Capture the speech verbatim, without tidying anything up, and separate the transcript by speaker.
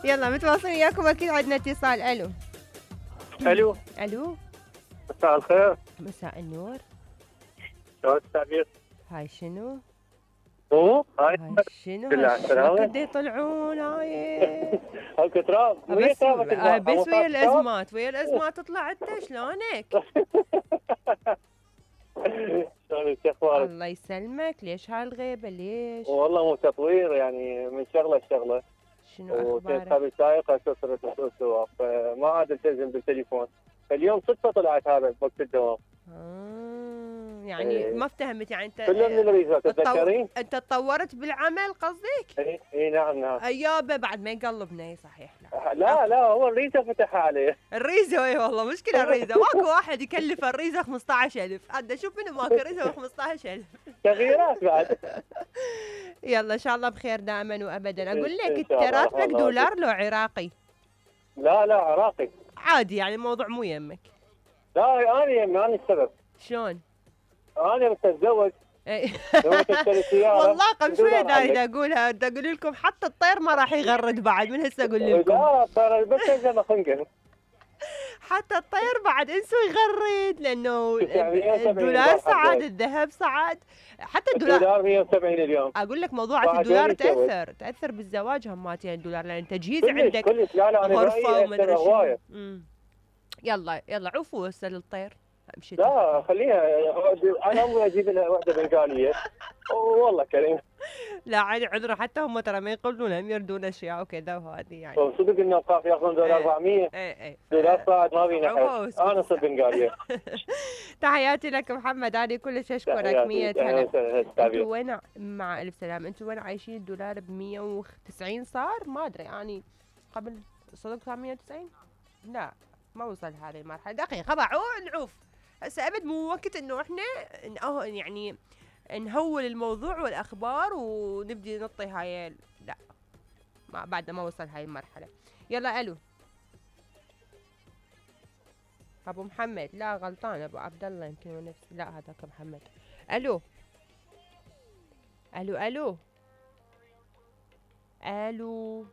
Speaker 1: يلا متواصلين وياكم اكيد عندنا اتصال. الو
Speaker 2: الو
Speaker 1: الو
Speaker 2: مساء الخير.
Speaker 1: مساء النور.
Speaker 2: شلون التعبير؟
Speaker 1: هاي شنو؟
Speaker 2: مو هاي
Speaker 1: هاي شنو؟
Speaker 2: بالله السلامة.
Speaker 1: قد يطلعون هاي
Speaker 2: هاك تراب ويا
Speaker 1: بس
Speaker 2: تراب
Speaker 1: آه، بس ويا الازمات ويا الازمات تطلع انت شلونك؟
Speaker 2: شلونك شو اخبارك؟
Speaker 1: الله يسلمك. ليش هالغيبه ليش؟
Speaker 2: والله مو تطوير يعني من شغله لشغله.
Speaker 1: شنو
Speaker 2: وكنت
Speaker 1: اخبارك؟
Speaker 2: خابي سايق اسوق السواق فما عاد التزم بالتليفون. فاليوم صدفه طلعت هذا بوقت الدوام.
Speaker 1: آه يعني
Speaker 2: إيه.
Speaker 1: ما افتهمت يعني انت
Speaker 2: كله من الريزات تتذكرين؟
Speaker 1: انت تطورت بالعمل قصدك؟
Speaker 2: اي اي نعم نعم.
Speaker 1: ايابه بعد ما يقلبنا اي صحيح. لا
Speaker 2: لا لا هو الريزه فتحها عليه.
Speaker 1: الريزه اي والله مشكله الريزه ماكو واحد يكلف الريزه خمسطعش ألف. عاد اشوف منو ماكو ريزه ب خمسطعش ألف.
Speaker 2: تغييرات بعد.
Speaker 1: يلا ان شاء الله بخير دائما وابدا. اقول لك
Speaker 2: إن
Speaker 1: انت
Speaker 2: شاء الله.
Speaker 1: راتبك
Speaker 2: الله
Speaker 1: دولار لو عراقي؟
Speaker 2: لا لا عراقي.
Speaker 1: عادي يعني الموضوع مو يمك.
Speaker 2: لا انا يمي انا السبب.
Speaker 1: شلون؟
Speaker 2: انا متزوج.
Speaker 1: إي.
Speaker 2: لو تشتري سياره
Speaker 1: والله قبل شويه
Speaker 2: دولار
Speaker 1: اريد
Speaker 2: عليك.
Speaker 1: اقولها بدي اقول لكم حتى الطير ما راح يغرد بعد من هسه اقول لكم.
Speaker 2: لا ترى بس زي ما خنقر.
Speaker 1: حتى الطير بعد انسوا يغرد لانه
Speaker 2: يعني مية وسبعين
Speaker 1: الدولار
Speaker 2: دولار
Speaker 1: صعد
Speaker 2: حقك.
Speaker 1: الذهب صعد حتى الدولار.
Speaker 2: الدولار مية وسبعين اليوم.
Speaker 1: اقول لك موضوع
Speaker 2: بعد
Speaker 1: الدولار
Speaker 2: وين يسوي؟
Speaker 1: تاثر تاثر بالزواج هماتين الدولار لان تجهيز
Speaker 2: كلش
Speaker 1: عندك
Speaker 2: كلش لا لا انا
Speaker 1: غرفه
Speaker 2: برايي
Speaker 1: ومدري
Speaker 2: يأثر
Speaker 1: شنو.
Speaker 2: هوايه.
Speaker 1: أمم. يلا يلا عوفوا هسه للطير امشي.
Speaker 2: لا خليها انا امي اجيب لها وحده بنغاليه. والله كريم.
Speaker 1: لا عادي عذره حتى هم ترى ما يقولون هم يردون اشياء وكذا وهذه يعني.
Speaker 2: صدق انه اوقاف ياخذون دولار أربعمية.
Speaker 1: اي اي
Speaker 2: دولار صاعد ما بينا
Speaker 1: عفوا،
Speaker 2: حد. انا صرت بنغاليه.
Speaker 1: تحياتي لك محمد. انا كلش اشكرك. مية هلا.
Speaker 2: هلا.
Speaker 1: انتوا وين مع الف سلام انتوا وين عايشين الدولار ب مية وتسعين صار؟ ما ادري يعني قبل صدق صار مية وتسعين؟ لا ما وصل هذه المرحله. دقيقه بعون نعوف هسه ابد مو وقت انه احنا نأه يعني نهول الموضوع والاخبار ونبدي نعطي هاي. لا ما بعد ما وصل هاي المرحله. يلا الو ابو محمد. لا غلطان ابو عبد الله يمكن هو نفس. لا هذاك محمد. الو الو الو الو